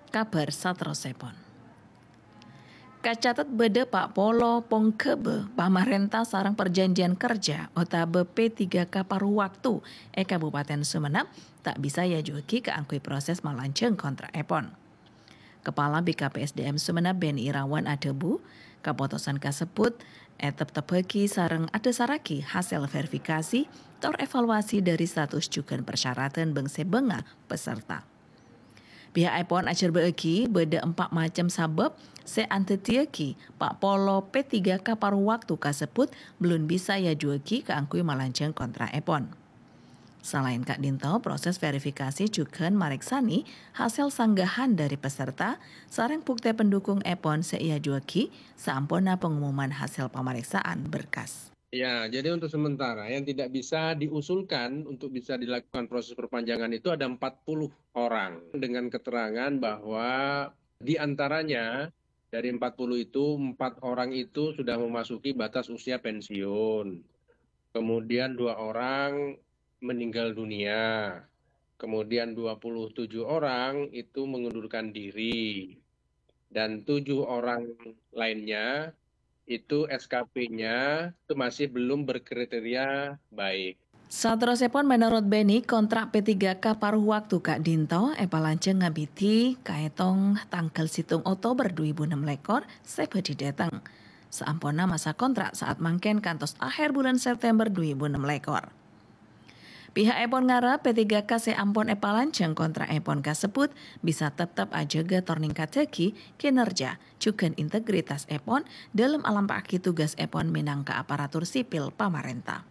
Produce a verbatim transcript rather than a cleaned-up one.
Kabhâr saterrossèpon. Kacatet bâḍâ pa' polo pongghâbâ pamarènta sareng parjhânjhiyân kerja otabâ P tiga K paruh waktu è Kabupaten Sumenep ta' bisa èajuwâghi kaangghuy proses malanjhâng kontra'èpon. Kepala B K P S D M Sumenep Beni Irawan adhâbu, kapotosan kasebbhut èteptebbhâghi sareng adhâsarraghi hasèl verifikasi tor evaluasi ḍâri status jhughân parsyaratan bâng-sèbângnga peserta. Pihakèpon ajhârbâ'âghi bâḍâ empa' macem sabâb sè anḍhâddhiyâghi pa' polo P tiga K paruh waktu kasebbhut bellun bisa èajuwâghi kaangghuy malanjhâng kontra'èpon. Salaèn ka'ḍinto, proses verifikasi jhughân marèksanè hasèl sanggahân ḍâri peserta sareng buktè pendukungèpon sè èajuwâghi saamponna pengumuman hasèl pamarèksaan berkas. Ya, jadi untuk sementara yang tidak bisa diusulkan untuk bisa dilakukan proses perpanjangan itu ada empat puluh orang dengan keterangan bahwa di antaranya dari empat puluh itu, empat orang itu sudah memasuki batas usia pensiun. Kemudian dua orang meninggal dunia. Kemudian dua puluh tujuh orang itu mengundurkan diri. Dan tujuh orang lainnya itu S K P-nya itu masih belum berkriteria baik. Saterrossèpon, menurut Beni, kontra' P tiga K paruh waktu ka'ḍinto èpalanjhâng ngabidhi kaètong tangghâl sèttong Oktober dhu èbu ennem lèkor sè bhâḍhi ḍâteng. Saamponna masa kontra' saat mangkèn kantos ahèr bulân September dhu èbu ennem lèkor. Pihakèpon ngarep P tiga K sè ampon èpalanjhâng kontra'èpon kasebbhut bisa teptep ajâgâ tor ningkattaghi kinerja jhughân integritasèpon ḍâlem alampa'aghi tugasèpon mènangka aparatur sipil pamarènta.